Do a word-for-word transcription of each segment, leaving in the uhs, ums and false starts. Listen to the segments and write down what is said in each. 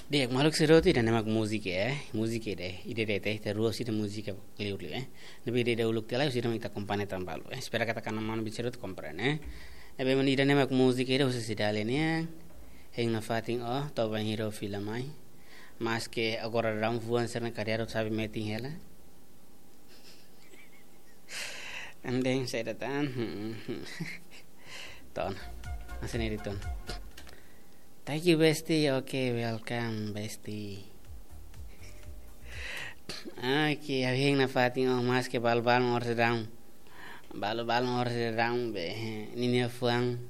Di'ak, maluk sira hotu, ida-ne'e mak múzika, eh. Múzika ida, ida de'it, ita rua husi ida múzika liur liu, eh. Ne'ebé ida uluk tiha lai husi ida mak ita akompaña tan balu, eh. Espera katak ita-nia maluk sira hotu komprende, eh. Ne'ebé mak ida-ne'e mak múzika ida husi Cidalia nian. Hein nafatin ó, to'o bainhira ó fila mai. Maske agora daudaun fuan sira-ne'e kadi'ak sabi metin hela. Andeng saida tan. Ton. Masih nih di ton. Thank you, bestie. Oke, welcome, bestie. Oke, ha'u hein nafatin ó, maske balu-balu oras daudaun. Balu-balu oras daudaun be. Ninia fuan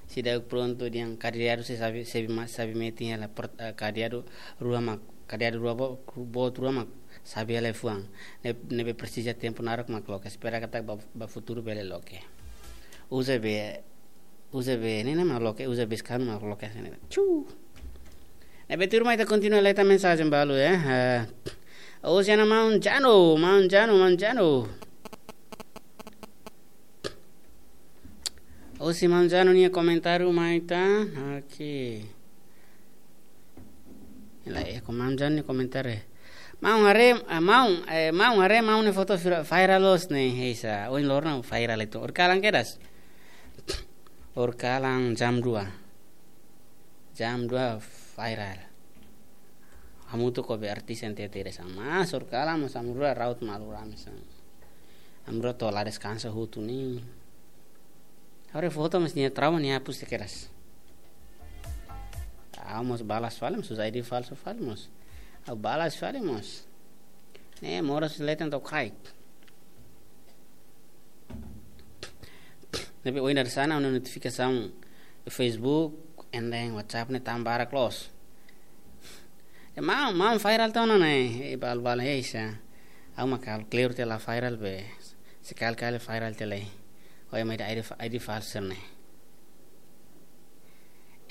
seidauk prontu dehan kadi'ak sei sabi, sabi ma-, sabi metin hela port-, eh, kadi'ak rua mak, kadi'ak rua bo-, boot rua mak sabi hela fuan. Ne-, ne'ebé presiza tempu naruk mak loke. Espera katak ba, ba futuru bele loke. Uza be, uza be, ne'e ne'e mak loke, uza be skanu mak loke, ne'e. Chu. Ne'ebé tuirmai ita kontinua leta mensajen balu, eh. Eh, Oceana Maun Jano, Maun Jano, Maun Jano. Husi Maun Jano nia komentáriu mai tan. Oke. Lai, eh, ko Maun Jano nia komentáriu, eh. Maun haree, ah, Maun, eh, Maun haree, Maun nia foto vira-, viral loos ne'e, heisa. Ohin loron viral itu. Horikalan kedas. Horikalan jam dua. Jam dua viral. Hamutuk ho be artis N T T ida hanesan. Mas horikalan mós ami rua ra'ut malu rame hanesan. Ami rua to'o la deskansa hotu ne'e. Haree foto mas nia trauma nia hapus tiha kedas. Ha'u mós balas fali mós, uza I D falsu fali mós. Ha'u balas fali mós. Ne'e moras leten to'o kaik. Ne'ebé ohin dadeer-saan ha'u-nia notifikasaun Facebook, enda iha WhatsApp ne'e tama barak loos. Ya, Maun, Maun viral tiha ona ne'e, eh, balu-balu, eh, sa. Ha'u mak halo klaru tiha la viral be. Sekali-kali viral tiha lai. Ohin mai ida I D fa-, I D falsu ne'e.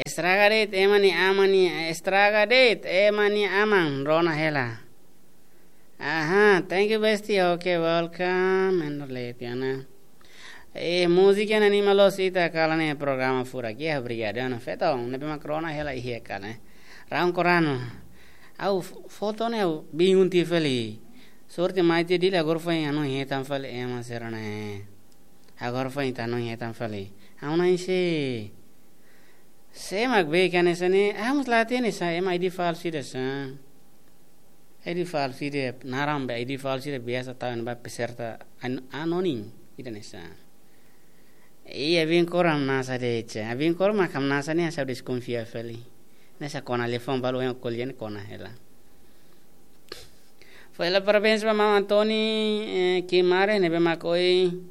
Estraga de'it, ema nia aman ne'e, estraga de'it, ema nia aman, rona hela. Aha, thank you, bestie. Oke, welcome. Endo leti ona. Eh, múzika ne'e anima loos ita kalan ne'e programa furak. Ya, obrigadu, ana feto. Ne'ebé mak rona hela iha kalan ne'e. Raun korano. Ha'u f-, foto ne'e ha'u bingung tiha fali. Sorte mai tiha Dili agora foin hanoin hetan fali ema sira-ne'e. Agora foin ita hanoin hetan fali. Ha'u na'in-see. Sé mak be hanesan ne'e, ha'u mós la hatene sá, ema I D falsu ida sá. I D falsu ida, naran be I D falsu ida biasa tau ba peserta an-, anonim ida hanesan. Iya, bin koram nasa de cha. Bin koram mak hamnasa ne'e ha'u deskonfia fali. Hanesan kona liafuan balu yang kolian kona hela. Foin hela parabéns ba maun Antoni, eh, Kimare, ne'ebé mak ohin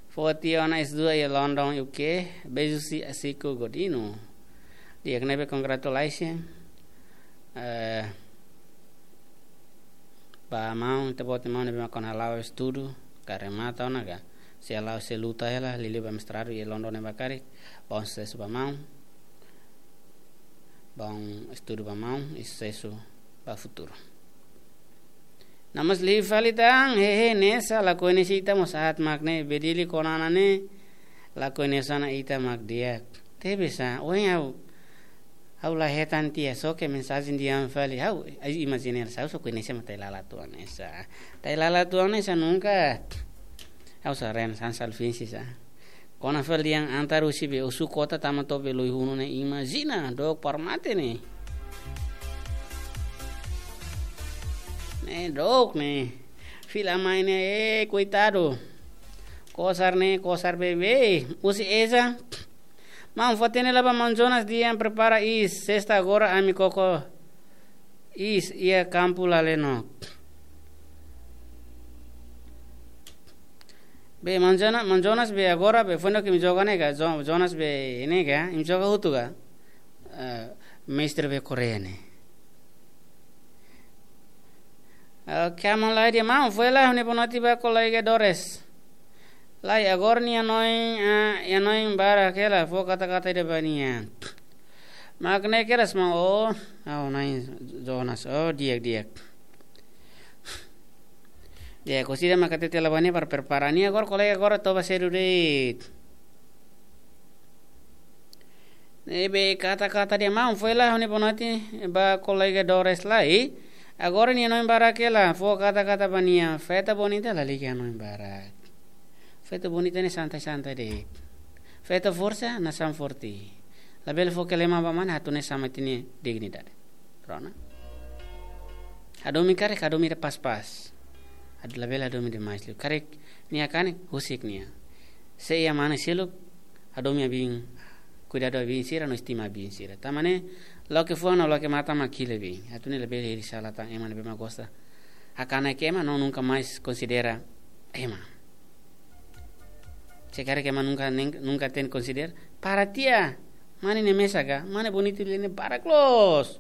foti ona S dua iha London, U K. Beijos, Asiko Godino. Di'ak, ne'ebé congratulations. Eh, ba maun, ita-boot nia maun ne'ebé mak kona hala'o estudu, ka remata ona ka. Sei hala'o, sei luta hela, liuliu ba mestradu iha London ne'ebá karik. Bom susesu ba maun. Bom estudu ba maun, i susesu ba futuru. Namas liu fali tan, hehe, hanesan, la koñese ita mós aat mak ne'e, be Dili kona ona ne'e, la koñese ona ita mak di'ak. Tebes sá, ohin ha'u, ha'u la hetan tiha, só ke mensajen dehan fali, ha'u, ai, imajina sá, ha'u só koñese mak Tailala tuan ne'e sá. Tailala tuan ne'e sá nunka. Ha'u sá ren san salfinsi sá. Kona fali dehan antar husi be Osu-Kota tama to'o be Loihunu ne'e, imajina, dook para mate ne'e. Ne'e dook ne'e. Fila mai ne'e, eh, koitadu. Kosar ne'e, kosar bebe. Husi Eza. Maun fó-hatene lai ba maun Jonas dehan prepara iis, sesta agora ami koko iis iha kampu Laleno. Be maun Jona-, maun Jonas be agora be foin imi joga ne'e ka, Jo-, Jonas be ne'e ka, imi joga hotu ka. Eh, mestre be Korea ne'e. Oke, maun lai dehan maun, foin hela ha'u-nia boa noite ba kolega Dores. Lai agora nia hanoin, ah, nia hanoin barak hela, fó kata-kata ida ba nia. Mak ne'e kedas maun, oh, oh, nai Jonas, oh, di'ak, di'ak. Di'ak, husi ida mak hatete lai ba nia para prepara nia agora, kolega agora toba sedu de'it. Ne'ebé kata-kata dehan maun, fó hela ha'u-nia bonote ba kolega Doris lai. Agora nia hanoin barak hela, fó kata-kata ba nia. Feto bonita lalika hanoin barak. Feto bonita ne'e santai-santai de'it. Feto forsa nasaun forte. Labele fó kelema ba mane, atu ne'e sama ita-nia dignidade. Rona. Hadomi karik, hadomi ida pas-pas. Atu labele hadomi demais liu. Karik nia kanek, husik nia. Se iha mane seluk, hadomi abin, kuidadu abin sira no estima abin sira. Tanba ne'e, loke fuan no loke matan mak hili abin. Atu ne'e labele hili sala tan ema ne'ebé mak gosta hakanek ema no nunka mais konsidera ema. Se karik ema nunka nen-, nunka hatene konsidera, para tiha. Mane ne'e mesak ka, mane bonitu lia ne'e barak loos.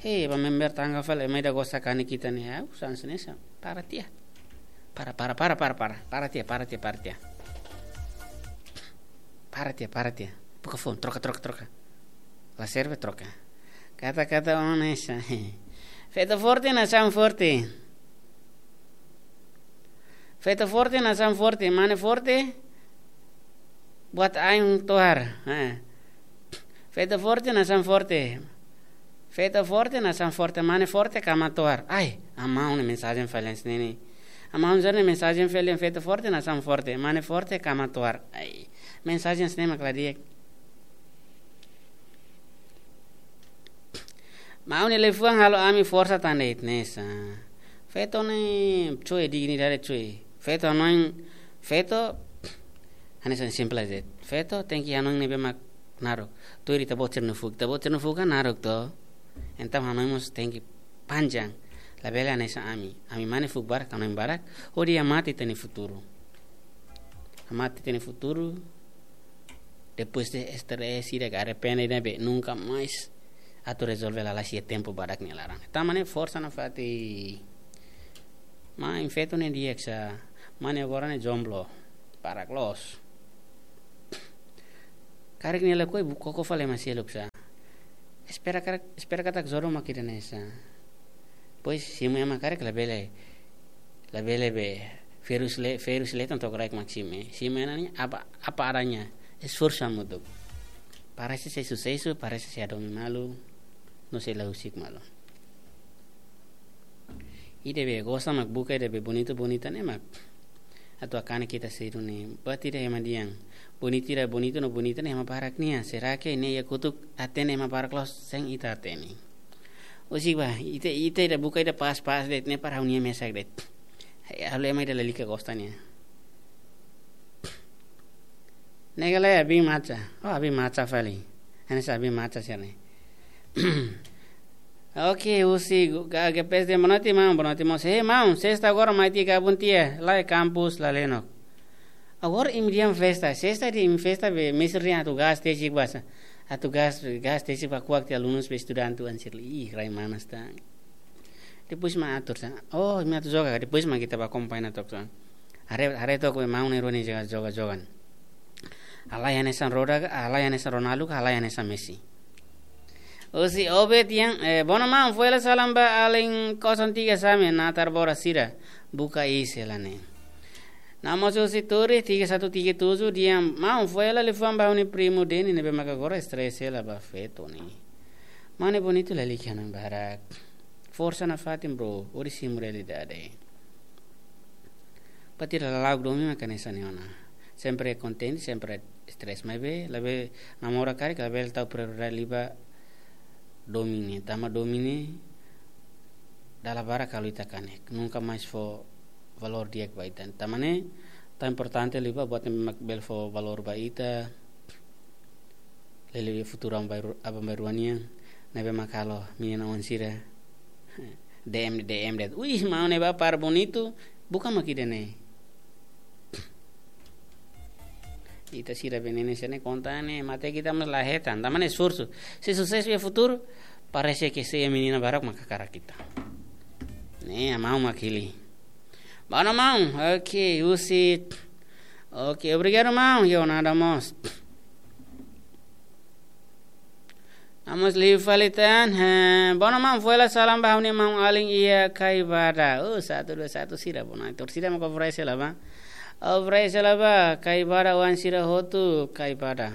Hei, ba member tangga fali, ema ida gosta hakanek ita ne'e, au, sans nesa, para tiha. Para, para, para, para, para, para tiha, para tiha, para tiha. Para tiha, para tiha. Buka phone, troka, troka, troka. La serve, troka. Kata-kata onesa. Feto forte nasaun forte. Feto forte nasaun forte, mane forte buat ain tohar. Eh. Feto forte nasaun forte. Feto forte nasaun forte, mane forte kama tohar. Ai, amaun ne'e mensajen fali hanesan ne'e. Amaun Zor ne'e mensajen fali, feto forte nasaun forte, mane forte kama tohar. Ai, mensajen hanesan ne'e mak la di'ak. Maun nia liafuan halo ami forsa tan de'it nesa. Feto ne'e coe dignidade coe. Feto hanoin, feto hanesan simples de'it. Feto tenke hanoin ne'ebé mak naruk. Tuir ita-boot sira-nia fuuk. Ita-boot sira-nia fuuk kan naruk to. Entaun hanoin mós tenke panjang. Labele hanesan ami. Ami mane fuuk barak, hanoin barak. Hodi hamate ita-nia futuru. Hamate ita-nia futuru. Depois de estrés, sira ke arrepende ne'ebé nunka mais atu rezolve lalais iha tempu badak nia laran. Tanba ne'e forsa nafatin. Maun, feto ne'e di'ak sa, mane agora ne'e jomblo. Barak loos. Karik nia lakohi buka koko fali ema seluk sa. Espera karik, espera katak jodoh mak ida-ne'e sa. Pois simu ema karik labele, labele be, ferus le, ferus le tanto karik mak simu. Simu ema ne'e apa, apa adanya. Esforsu hamutuk. Parese sei susesu, parese sei hadomi malu, no sei la husik malu. Ida be gosta mak buka ida be bonitu, bonita ne'e mak atu hakanek ita seidauk ne'e. Buat ida ema dehan. Bonitu ida, bonitu no bonita ne'e ema barak nian. Será que ne'e iha kotuk hatene ema barak loos, sein ita hatene. Husik ba, ita, ita ida buka ida pas-pas de'it ne'e para ha'u-nia mesak de'it. Ha'u ema ida lalika gosta nian. Ne'e ka lae, abin maca. Oh, abin maca fali. Hanesan abin maca sira ne'e. Oke, husi gu-, ga-, G P S dehan bonote maun, bonote mós. Hei maun, sesta agora mai tiha gabun tiha, lae kampus la lenok. Agora imi dehan festa, sesta dehan imi festa be, mestre dehan atu gás tesik ba sa. Atu gás, gás tesik ba kuak tiha alunus be estudante oan sira. Ih, rai manas tan. Depois mak atur sa. Oh, imi atu joga, depois mak ita bá akompaña took sa. Haree, haree took be maun ne'e rua ne'e joga, joga, joga. Halai hanesan Roda ka, halai hanesan Ronaldo ka, halai hanesan Messi. Husi Obed dehan, eh, bono maun, fó hela salam ba alin kosong tiga Same, natar bora sira, buka iis hela ne'e. Namo husi Turi, tiga satu tiga tujuh, dehan maun, fó hela liafuan ba ha'u-nia primu Deni, ne'ebé maka agora estrés hela ba feto ne'e. Mane bonitu lalika hanoin barak. Forsa nafatin bro, hodi simu realidade. Buat ida lala'ok domin maka hanesan ne'e ona. Sempre kontente, sempre estrés. Maibé, labele namora karik, labele tau prioridade liu ba domin ne'e. Tanba domin ne'e dala barak halo ita kanek. Nunka mais fó valór di'ak ba ita. Tanba ne'e, tan importante liu ba buat ne'ebé mak bele fó valór ba ita. Lele futuru aban-bainrua, aban-bainrua nian, ne'ebé mak halo menina oan sira D M, D M de'it. Uih, maun ne'e ba para bonitu, buka mak ida-ne'e. Ita sira be ne'e ne'e sira ne'e konta ne'e, mate ita mós la hetan, tanba ne'e esforsu. Se susesu iha futuru, parese ke sei menina barak mak hakarak ita. Ne'e, maun mak hili. Bono maun, oke, husi. Oke, obrigadu maun, yo nada mós. Namo liu fali tan, eh, bono maun, fó hela salam ba ha'u-nia maun alin iha Kaibada. Oh, satu dua satu sira, bono. Torcida mak oferese la ba. Oferese la ba, Kaibada oan sira hotu, Kaibada.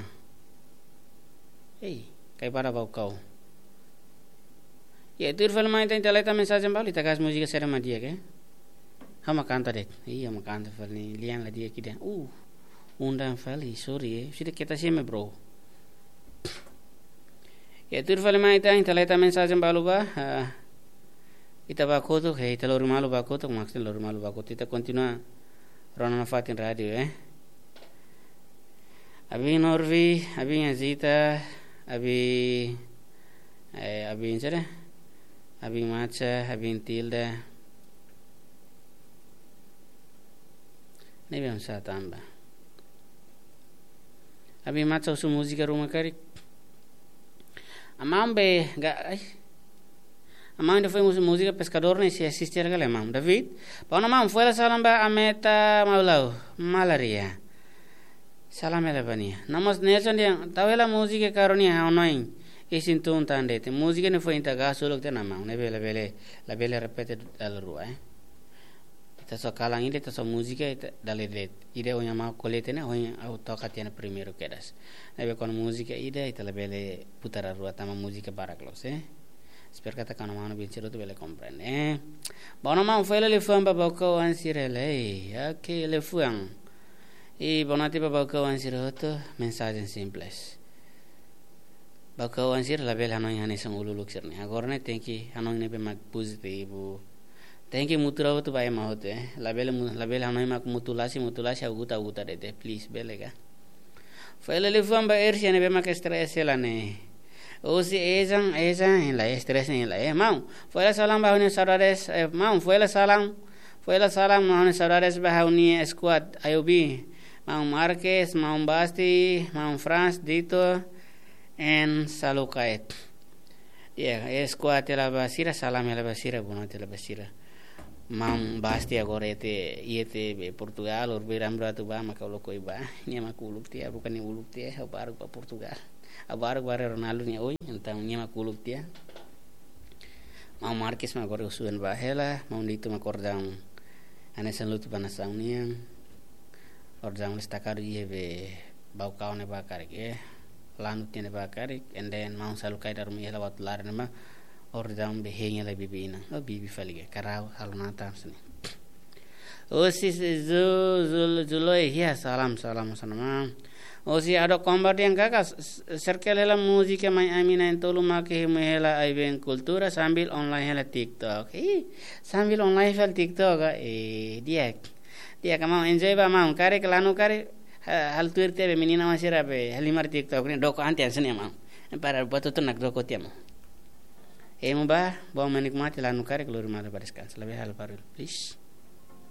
Ei, kai para Baucau. Ya, tuir fali mai ita, ita leta mensajen balu, ita gas múzika sira mak di'ak, eh? Ha'u mak kanta de'it. Iya, ha'u mak kanta fali, lian la di'ak ida. Uh, undang fali, sorry, eh. Sida keta seme, bro. Ya, tuir fali mai ita, ita leta mensajen balu ba. Ah, ita ba kotuk, eh, ita lori malu ba kotuk, maksudnya lori malu ba kotuk. Ita kontinua rona nafatin rádiu, eh. Abin Norvi, abin Azita, abin, eh, abin sira, abin Macha, abin Tilda. Ne'ebé oinsá tanba. Abin Macha husu múzika ruma karik. Amam be, ga, ai. Amam ida foin husu múzika Peskadór ne'e sei asiste hela ka lae, amam. David, bá ona amam, fó hela salam ba Ameta Maulau, Malaria. Salam hela ba nia. No mós Nelson dehan, tau hela múzika karik ne'e ha'u hanoin isin tun tan de'it. Múzika ne'e foin ita gas uluk tiha ona amam. Ne'ebé labele, labele repete dala rua, eh. Ita só kalan ida, ita só múzika, ita dala de'it. Ida ohin amam ko'alia tiha ona, ohin ha'u toka tiha ona primeiru kedas. Ne'ebé kuandu múzika ida, ita labele putar rua tanba múzika barak loos, eh. Espera katak kanu manu bin sira hotu bele komprende, eh. Bá ona amam, fó hela liafuan ba Baucau oan sira hela, eh. Oke, liafuan. I boa noite ba Baucau oan sira hotu, mensajen simples. Baucau oan sira labele hanoin hanesan uluk-uluk sira-ne'e. Agora ne'e tenke hanoin ne'ebé mak pozitivu. Tenke mutura hotu ba ema hotu, eh. Labele mu-, labele hanoin mak mutu lasi, mutu lasi, ha'u guta, ha'u guta de'it, eh. Please, bele ka. Fó hela liafuan ba Ersia ne'ebé mak stress hela ne'e. Husi ezan, ezan, hein lai, stress hein lai, eh. Maun, fó hela salam ba ha'u-nia saudades, eh, maun, fó hela salam, fó hela salam, ha'u-nia saudades ba ha'u-nia squad, I O B. Maun Marques, maun Basti, maun Franz, Dito, and Salukait. Ya, eh, squad hela ba sira, salam hela ba sira, boa noite hela ba sira. Maun Basti agora iha te, iha te be Portugal, orbir ambratu ba, maka uluk oi ba. Nia mak uluk tiha, bukan nia uluk tiha, ha'u baruk ba Portugal. Ha'u baruk ba Ronaldo nia oin, entaun nia mak uluk tiha. Maun Marques mak agora husu an ba hela, maun Dito mak ordaun hanesan lutu ba nasaun nian. Ordaun destakadu iha be Baucau ne'ebá karik, eh. Lanut ne'ebá karik, and then maun Salukait daru mai hela waktu laran ne'ebá, ordaun be hein hela bibi inan. Oh, bibi fali ka, karau, halo nata, hanesan ne'e. Husi Zu-, Zul-, Zuloi, ya, salam, salam, salam. Husi Ado Kombar dehan kaka, s-, s-, serkel hela múzika mai ami na'in-tolu mak hemu hela ai-been kultura sambil online hela TikTok. Ih, sambil online hela TikTok, ah, eh, di'ak. Di'ak ka maun, enjoy ba maun, karik lanu karik, ha-, halo tuir tiha be menina oan sira be halimar TikTok ne'e, doko an tiha hanesan ne'e maun. Para buat hotu nakdoko tiha maun. Hemu ba, bom menikmati lanu karik lori malu ba deskansa. Labele halo barullu, please.